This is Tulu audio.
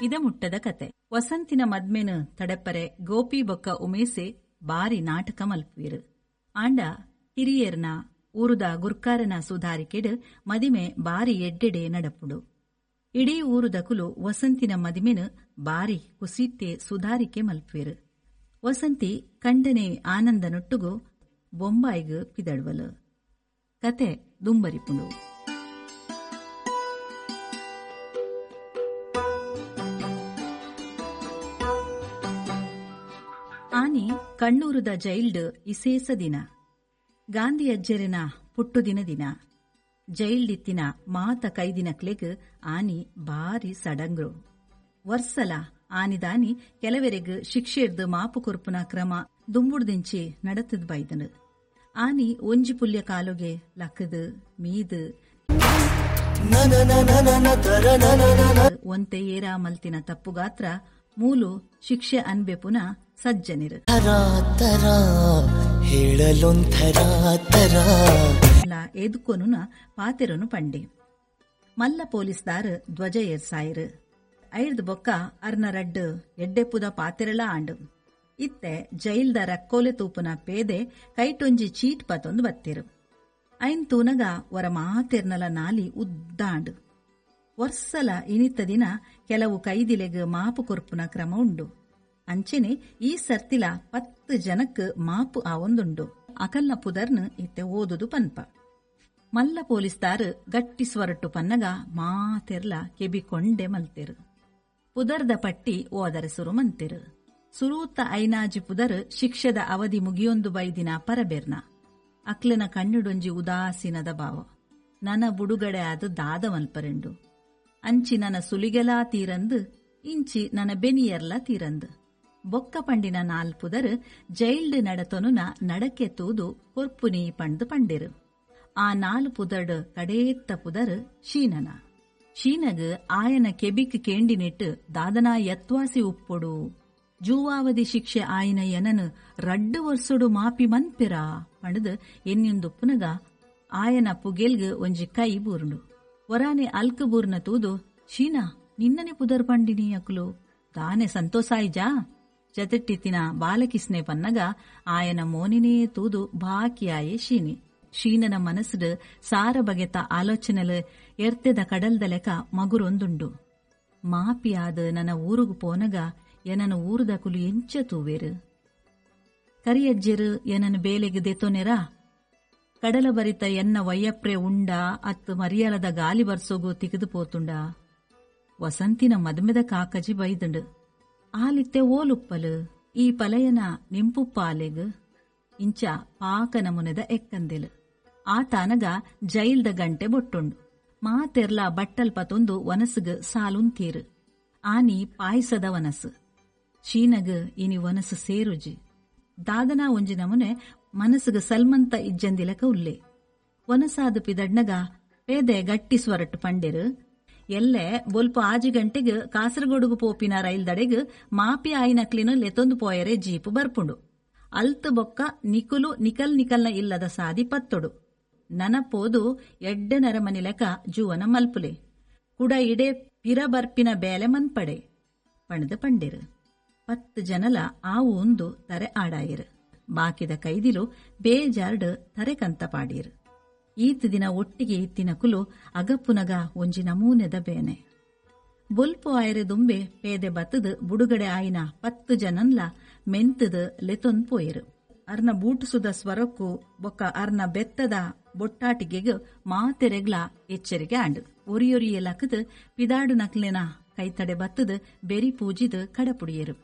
ಇದಮುಟ್ಟದ ಕತೆ. ವಸಂತಿನ ಮದ್ಮೆನು ತಡೆಪರೆ ಗೋಪಿ ಬೊಕ್ಕ ಉಮೇಸೆ ಬಾರಿ ನಾಟಕ ಮಲ್ಪುವೆರು. ಆಂಡ ಹಿರಿಯರ್ನ ಊರುದ ಗುರ್ಕಾರನ ಸುಧಾರಿಕೆಡ್ ಮದಿಮೆ ಬಾರಿ ಎಡ್ಡೆಡೆ ನಡಪುಡು. ಇಡೀ ಊರುದಕುಲು ವಸಂತಿನ ಮದಿಮೆನು ಬಾರಿ ಕುಸಿತ್ತೆ ಸುಧಾರಿಕೆ ಮಲ್ಪುವೆರು. ವಸಂತಿ ಕಂಡನೆ ಆನಂದನೊಟ್ಟುಗು ಬೊಂಬಾಯಿಗ್ ಪಿದಡ್ವಲು. ಕತೆ ದುಂಬರಿಪುಂಡು. ಆನಿ ಕಣ್ಣೂರುದ ಜೈಲ್ಡ್ ಇಸೇಸ ದಿನ. ಗಾಂಧಿ ಅಜ್ಜೆರೆನ ಪುಟ್ಟುದಿನ ದಿನ. ಜೈಲ್ಡಿತ್ತಿನ ಮಾತ ಕೈದಿನಕ್ಲೆಗ್ ಆನಿ ಬಾರಿ ಸಡಂಗ್ರು. ವರ್ಸಲ ಆನಿದಾನಿ ಕೆಲವರೆಗ್ ಶಿಕ್ಷೆರ್ದ್ ಮಾಪು ಕೊರ್ಪುನ ಕ್ರಮ ದುಂಬುಡ್ದಿಂಚಿ ನಡತದ್ ಬೈದನು. ಆನಿ ಒಂಜಿ ಪುಲ್ಯ ಕಾಲುಗೆ ಲಕ್ಕದು ಮೀದು ಒಂತೆ ಏರಾ ಮಲ್ತಿನ ತಪ್ಪುಗಾತ್ರ ಮೂಲು ಶಿಕ್ಷೆ ಅನ್ಬೆಪುನ ಸಜ್ಜನಿರು. ಎದುಕೊನುನ ಪಾತೆರನು ಪಂಡೆ. ಮಲ್ಲ ಪೊಲೀಸ್ದಾರ್ ಧ್ವಜ ಏರ್ಸಾಯಿರು. ಐರ್ದ್ ಬೊಕ್ಕ ಅರ್ನ ರಡ್ಡು ಎಡ್ಡೆಪುದ ಪಾತೆರಲ ಆಂಡು. ಇತ್ತೆ ಜೈಲ್ದ ರಕ್ಕೋಲೆ ತೂಪುನ ಪೇದೆ ಕೈಟೊಂಜಿ ಚೀಟ್ ಪತೊಂದು ಬತ್ತೇರು. ಐನ್ ತೂನಗ ವರ ಮಾತೆರ್ನಲ ನಾಲಿ ಉದ್ದಾಂಡು. ವರ್ಸಲ ಇನಿತ ದಿನ ಕೆಲವು ಕೈದಿಲೆಗ್ ಮಾಪು ಕೊರ್ಪುನ ಕ್ರಮ ಉಂಡು. ಅಂಚೆನೆ ಈ ಸರ್ತಿಲ 10 ಜನಕ್ ಮಾಪು ಆವೊಂದುಂಡು. ಅಕಲ್ನ ಪುದರ್ನ್ ಇತ್ತೆ ಓದುದು ಪನ್ಪ. ಮಲ್ಲ ಪೊಲೀಸ್ದಾರ್ ಗಟ್ಟಿ ಸ್ವರಟ್ಟು ಪನ್ನಗ ಮಾತೆರ್ಲ ಕೆಬಿ ಕೊಂಡೆ ಮಲ್ತೆರು. ಪುದರ್ದ ಪಟ್ಟಿ ಓದರೆ ಸುರು ಮಂತೆರು. ಸುರೂತ ಐನಾಜಿ ಪುದರ್ ಶಿಕ್ಷೆದ ಅವಧಿ ಮುಗಿಯೊಂದು ಬೈದಿನ ಪರಬೆರ್ನ. ಅಕ್ಲೆನ ಕಣ್ಣುಡೊಂಜಿ ಉದಾಸೀನದ ಭಾವ. ನನ ಬುಡುಗಡೆ ಆದ ದಾದ ಮಲ್ಪರೆಂಡು. ಅಂಚಿ ನನ ಸುಲಿಗೆಲಾ ತೀರಂದು, ಇಂಚಿ ನನ ಬೆನಿಯರ್ಲ ತೀರಂದು. ಬೊಕ್ಕ ಪಂಡಿನ 4 ಪುದರ್ ಜೈಲ್ಡ್ ನಡತೊನುನ ನಡಕೆ ತೂದು ಕೊರ್ಪುನಿ ಪಂಡ್ದು ಪಂಡಿರು. ಆ 4 ಪುದರ್ಡ್ ಕಡೇತ್ತ ಪುದರ್ ಶೀನನ. ಶೀನಗ್ ಆಯನ ಕೆಬಿಕ್ ಕೇಂಡಿನಿಟ್ಟು ದಾದನಾ ಯತ್ವಾಸಿ ಉಪ್ಪೊಡು, ಜೂವಾವಧಿ ಶಿಕ್ಷೆ ಆಯಿನ ಎನನು 2 ವರ್ಷಡು ಮಾಪಿ ಮನ್ಪಿರಾ ಪಂಡ್ದು ಎನ್ನಿಂದುಪ್ಪುನಗ ಆಯನ ಪುಗೆಲ್ಗ್ ಒಂಜಿ ಕೈ ಬೂರುಂಡು. ಒರಾನೆ ಅಲ್ಕು ಬೂರ್ನ ತೂದು, ಶೀನಾ ನಿನ್ನನೆ ಪುದರ್ ಪಂಡಿನಿ ಅಕುಲು ತಾನೆ ಸಂತೋಷಾಯಿಜಾ ಜತೆಟ್ಟಿತ್ತಿನ ಬಾಲಕಿಸ್ನೆ ಪನ್ನಗ ಆಯನ ಮೋನಿನೇ ತೂದು ಬಾಕಿಯಾಯೆ ಶೀನಿ. ಶೀನನ ಮನಸ್ಸುಡು ಸಾರ ಬಗೆತ ಆಲೋಚನೆಲು ಎರ್ತೆದ ಕಡಲ್ದ ಲೆಕ ಮಗುರೊಂದುಂಡು. ಮಾಪಿಯಾದ ನನ್ನ ಊರುಗು ಪೋನಗ ಎನನ ಊರುದಕುಲು ಎಂಚ ತೂವೇರು, ಕರಿಯಜ್ಜೆರು ಎನನ ಬೇಲೆಗ್ ದೆತೊನೆರಾ, ಕಡಲ ಬರಿತ ಎನ್ನ ವಯ್ಯಪ್ರೆ ಉಂಡಾ ಅತ್ತು ಮರಿಯಲದ ಗಾಲಿ ಬರ್ಸೋಗು ತಿಗದು ಪೋತುಂಡ. ವಸಂತಿನ ಮದ್ಮೆದ ಕಾಕಜಿ ಬೈದುಂಡು. ಆಲಿತ್ತೆ ಓಲುಪ್ಪಲು ಈ ಪಲಯನ ನಿಂಪುಪ್ಪಾಲೆಗ್ ಇಂಚ ಪಾಕ ನಮುನೆದ ಎಕ್ಕಂದೆಲು. ಆತಾನಗ ಜೈಲ್ದ ಗಂಟೆ ಬೊಟ್ಟುಂಡು. ಮಾತೆರ್ಲ ಬಟ್ಟಲ್ ಪತೊಂದು ವನಸುಗ್ ಸಾಲುಂತೀರು. ಆನಿ ಪಾಯಸದ ವನಸು. ಶೀನಗ್ ಇನಿ ವನಸು ಸೇರುಜಿ. ದಾದನಾ ಒಂಜಿ ನಮುನೆ ಮನಸ್ಸುಗ್ ಸಲ್ಮಂತ ಇಜ್ಜಂದಿಲಕ ಉಲ್ಲೆ. ವನಸಾದ ಪಿದಡ್ನಗ ಪೇದೆ ಗಟ್ಟಿ ಸ್ವರಟ್ಟು ಪಂಡೆರು, ಎಲ್ಲೆ ಬೊಲ್ಪ 6 ಗಂಟೆಗ್ ಕಾಸರಗೋಡುಗು ಪೋಪಿನ ರೈಲ್ದಡೆಗ್ ಮಾಪಿ ಆಯಿನಕ್ಲಿನ ಲೆತೊಂದು ಪೋಯರೆ ಜೀಪು ಬರ್ಪುಂಡು. ಅಲ್ತ್ ಬೊಕ್ಕ ನಿಕುಲು ನಿಕಲ್ ನಿಕಲ್ನ ಇಲ್ಲದ ಸಾದಿ ಪತ್ತೊಡು. ನನ ಪೋದು ಎಡ್ಡೆ ನರಮನಿ ಲೆಕ ಜೂವನ ಮಲ್ಪುಲೆ, ಕುಡ ಇಡೆ ಪಿರ ಬರ್ಪಿನ ಬೇಲೆ ಮನ್ಪಡೆ ಪಣದ ಪಂಡೆರು. 10 ಜನಲ ಆವು ಒಂದು ತರೆ ಆಡಾಯಿರು. ಬಾಕಿದ ಕೈದಿಲು ಬೇಜಾರ್ಡ್ ತರೆ ಕಂತ ಪಾಡೀರು. ಈತ ದಿನ ಒಟ್ಟಿಗೆ ಇತ್ತಿನ ಕುಲು ಅಗಪ್ಪುನಗ ಒಂಜಿ ನಮೂನೆದ ಬೇನೆ. ಬೊಲ್ಪು ಆಯರೆ ದುಂಬೆ ಪೇದೆ ಬತ್ತದ ಬುಡುಗಡೆ ಆಯಿನ 10 ಜನನ್ಲ ಮೆಂತದ ಲೆತೊಂದ್ ಪೋಯರು. ಅರ್ನ ಬೂಟುಸುದ ಸ್ವರಕ್ಕೂ ಬೊಕ್ಕ ಅರ್ನ ಬೆತ್ತದ ಬೊಟ್ಟಾಟಿಗೆಗ್ ಮಾತೆರೆಗ್ಲ ಎಚ್ಚರಿಗೆ ಆಂಡು. ಒರಿಯೊರಿಯ ಲಕದ ಪಿದಾಡು ನಕ್ಲೆನ ಕೈತಡೆ ಬತ್ತದ ಬೆರಿ ಪೂಜಿದ ಕಡಪುಡಿಯರು.